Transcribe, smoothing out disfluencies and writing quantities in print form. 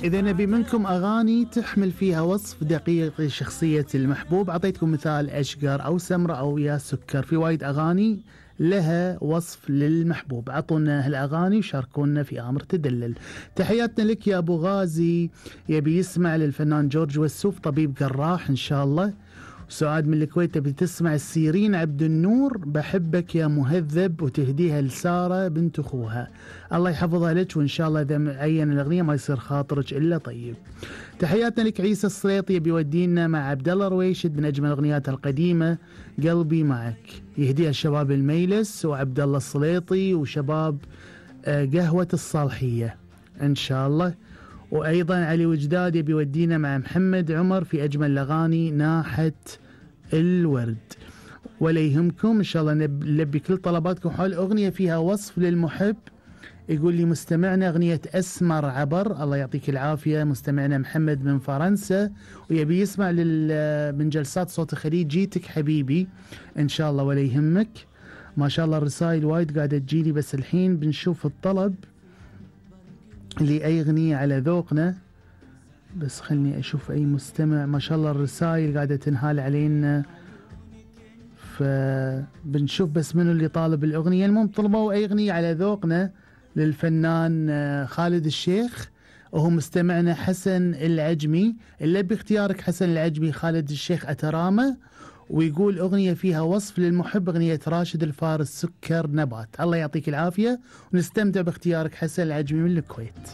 إذا نبي منكم أغاني تحمل فيها وصف دقيق لشخصية المحبوب، أعطيتكم مثال أشقر أو سمرة أو يا سكر، في وايد أغاني لها وصف للمحبوب. عطونا هالأغاني وشاركونا في آمر تدلل. تحياتنا لك يا أبو غازي، يبي يسمع للفنان جورج وسوف طبيب جراح إن شاء الله. سعاد من الكويت تبي تسمع السيرين عبد النور بحبك يا مهذب، وتهديها لسارة بنت أخوها. الله يحفظها لك، وإن شاء الله إذا عين الأغنية ما يصير خاطرك إلا طيب. تحياتنا لك عيسى السليطي بيودينا مع عبد الله رويشد من أجمل أغنيات القديمة قلبي معك، يهديها الشباب الميلس وعبد الله السليطي وشباب قهوة الصالحية إن شاء الله. وأيضا علي وجداد بيودينا مع محمد عمر في أجمل الأغاني ناحة الورد. ولا يهمكم إن شاء الله نلبي كل طلباتكم حول أغنية فيها وصف للمحب. يقول لي مستمعنا أغنية أسمر عبر، الله يعطيك العافية مستمعنا محمد من فرنسا، ويبي يسمع من جلسات صوت الخليج جيتك حبيبي إن شاء الله. ولا يهمك، ما شاء الله الرسائل وايد قاعدة تجيني، بس الحين بنشوف الطلب لأي أغنية على ذوقنا. بس خلني أشوف أي مستمع، ما شاء الله الرسائل قاعدة تنهال علينا، فبنشوف بس منو اللي طالب الأغنية. المهم طلبوا أي أغنية على ذوقنا للفنان خالد الشيخ، وهو مستمعنا حسن العجمي. اللي باختيارك حسن العجمي خالد الشيخ أترامة، ويقول أغنية فيها وصف للمحب، أغنية راشد الفارس سكر نبات. الله يعطيك العافية ونستمتع باختيارك حسن العجمي من الكويت.